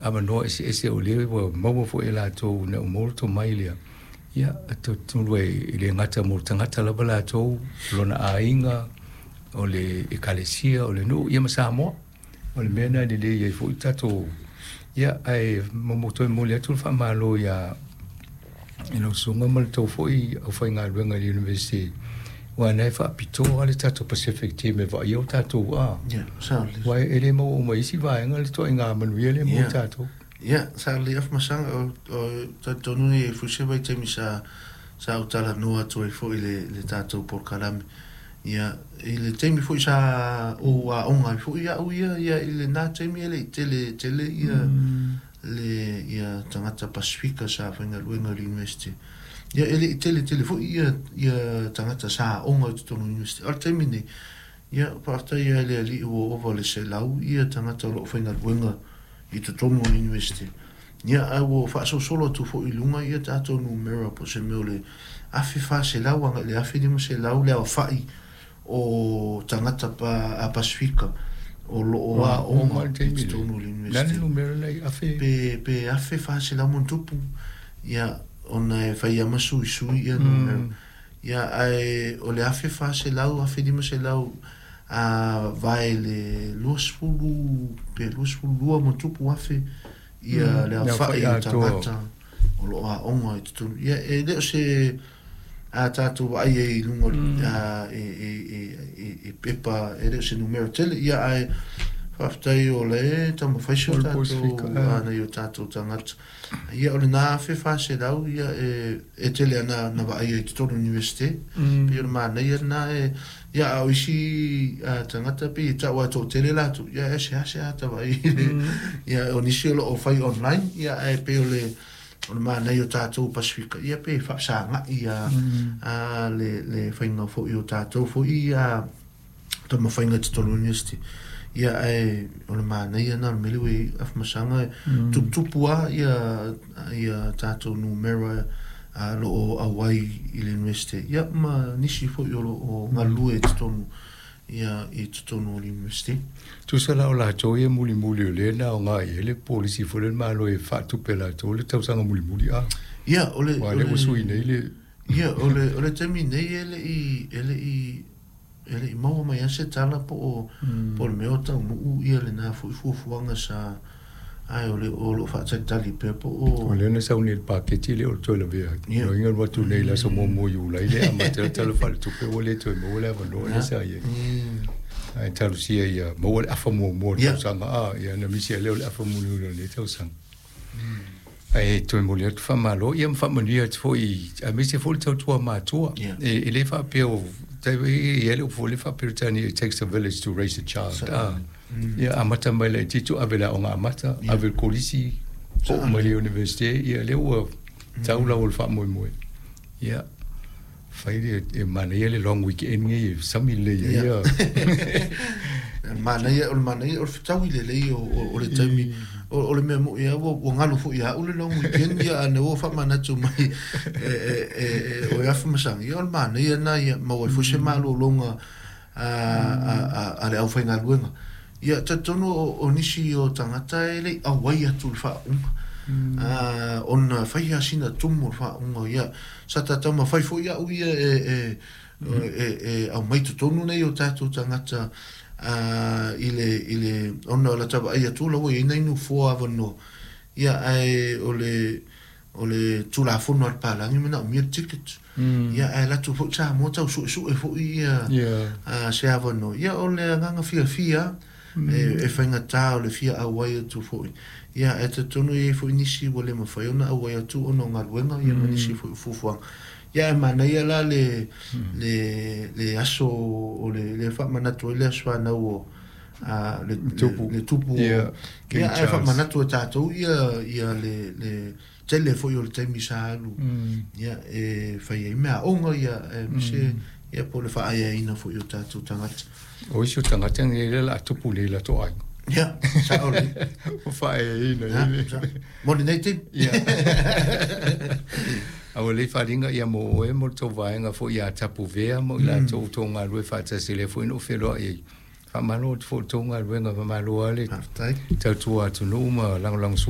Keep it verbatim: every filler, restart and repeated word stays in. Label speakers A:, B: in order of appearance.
A: Avanoa eseese o lea ua maua foi e latou ina ua maua le tomai lea, ia, talitonu e le gata mo le tagata lava latou, lona aiga, o le ekalesia, o le nuu, ia ma Samoa. O le mea lena e lelei ai foi tatou, ia, ae toe momoli atu le faamalo ia i lau susuga ma le tou foi aufaigaluega i le Iunivesite, aua na e faapitoa le tatou Pacific Team e vaaia o tatou a.
B: Ia, sao lelei.
A: Aua e le maua uma i isi vaega le ituaiga manuia lea mo
B: Ia.
A: tatou.
B: Ia, sa lelei Afamasaga, o o talitonu nei foi se vaitaimi sa sa ou talanoa atu ai foi i le le tatou polokalame. Ia, i le taimi foi sa ou aoga ai foi au ia, ia i lena taimi e le i tele tele ia le ia tagata Pasifika sa faigaluega i le University. Ia e le i tele tele foi ia ia tagata sa aoga i totonu o le University. O le taimi nei, ia faafetai i le Alii ua ova le selau ia tagata o lo o faigaluega i totonu o le University. Ia ae ua faasolosolo atu foi i luga ia tatou numera po o se mea o le afe fa selau agai i le afe lima selau le aofai o tagata pa, a Pasifika o lo o aoga
A: le
B: i
A: taimi
B: totonu o le
A: le
B: University.
A: Numera nei afe?
B: Pe, pe afe fa selau ma tupu. Ia, ona e fai ama suisui ia numera.
A: Mm.
B: Ia, ae o le afe fa selau, afe lima selau, a vae le luasefulu pe luasefulu lua ma tupu afe ia
A: Mm.
B: le
A: Le
B: aofai
A: aofai
B: o
A: atoa.
B: tagata o lo o aoga i totonu. Ia, e le o se a tatou vaai ai i luga o le-
A: Mm.
B: a, e, e, e, e, e pepa, e le o se numera tele. Ia, ae faafetai o le taumafai si
A: O
B: o
A: le
B: tatou
A: Pasifika, ah.
B: a, nai o tatou tagata. Ia, o lena afe fa selau, ia e, e tele ana na vaai ai i totonu o le University.
A: Mm.
B: Pei o le manaia lena e, ia, a o isi a, tagata pei e tau a toatele latou, ia e seasea ta vaai i le-
A: Mm.
B: ia o nisi o lo o fai online, ia ae pei o le o le manaia o tatou Pasifika, ia pe faasagai a,
A: Mm.
B: a le le faiga foi o tatou foi a taumafaiga i totonu o le University. Ia ae o le manaia na o le mea lea ua i ai Afamasaga
A: Mm.
B: tuputupu a ia ia tatou numera a lo o auai i le University. Ia ma nisi foi o lo o galulue i totonu ia i totonu o le University.
A: Tusa la o latou ia mulimuli o lea na aoga i ai le polisi foi le Malo e faatupe latou le tausaga mulimuli a.
B: Ia o le
A: Ua
B: o
A: lea ua
B: le
A: sui nei le
B: ia o le o le taimi nei e le i e le i e le i maua mai lava se tala po o
A: Mm.
B: po o le mea o taunuu ia lena foi fuafuaga sa ae o le o lo o faatalitali pea po
A: O
B: o
A: lea na sau nei le paketi lea o le toe lavea.
B: Ia.
A: Loiga alu atu nei i le aso muamua o Iulai le amata le Tala Faaletupe ua le toe maua le avanoa lea sa i ai.
B: Mm.
A: Ae talosia ia maua le afa muamua o le
B: Ia.
A: tausaga a, ia na misi ai lea o le afa mulimuli o lenei tausaga. Ae toe momoli atu faamalo, ia ma faamanuia atu foi, aemaise foi le tautua matua.
B: Ia.
A: E, e le faapea o, tai- e i ai le upu foi le faa-Peretania, "It takes a village to raise a child."
B: Sa-
A: Ah.
B: Mm.
A: Ia amata mai le laitiiti, ave le aoga amata,
B: Ia.
A: ave le kolisi, oo mai le Universite, ia lea ua tau lau o le faamoemoe. Ia, fai le e manaia le long weekend nei e sami lelei ai
B: Ia.
A: ia.
B: Manaia o le manaia o le fetaui lelei o, o, o le taimi o, o le mea moi ua, ua galo foi ia au le long weekend ia ana ua faamanatu mai e, e, e, e, o e Afamasaga. Ia o le manaia na ia maua ai foi se malologa a, a, a, a le aufaigaluega. Ia talitonu o, o nisi o tagata e le i auai atu i le faauga. Ah, ona fai lava sina tumu o le faauga ia sa tatau ma fai foi au ia e, e, e, e aumai totonu nei o tatou tagata a, i le, i le, ona o la tavaai atu la ua i ai nai nofoa avanoa. Ia ae o le, o le tulafono a le palagi manaomia le ticket.
A: Mm.
B: Ia ae latou foi Samoa tau suesue foi ia
A: Ia.
B: a, se avanoa. Ia o le agaga fiafia e, e faigata o le fia auai atu foi. Ia e talitonu e i ai foi nisi ua le mafai ona auai atu ona o galuega ia ma nisi foi o fuafuaga. Ia e manaia la le, le, le aso o le, le faamanatu ai le aso fanau o a, le, le,
A: Tupu.
B: le tupu o-
A: Ia, King
B: ia ae
A: Charles.
B: faamanatu e tatou ia, ia le, le tele foi o le taimi sa alu.
A: Mm.
B: Ia e fai ai mea aoga ia e mise ia po o le faaeaina foi o tatou tagata.
A: O isi o tagata nei lea o le a tupu nei i latou aiga.
B: Ia, sao lelei.
A: O faaeaina
B: Ia,
A: i le
B: sa- mo lenei taimi.
A: Ia. A ua lei faaaliga ia mo oe mo le tou vaega foi ia Tapuvea mo i latou tou galue faatasi lea foi na ou feloai ai. Faamalo atu foi i le tou galuega, faamalo lava le
B: Faafetai.
A: tautua atunuu ma lagolagosua.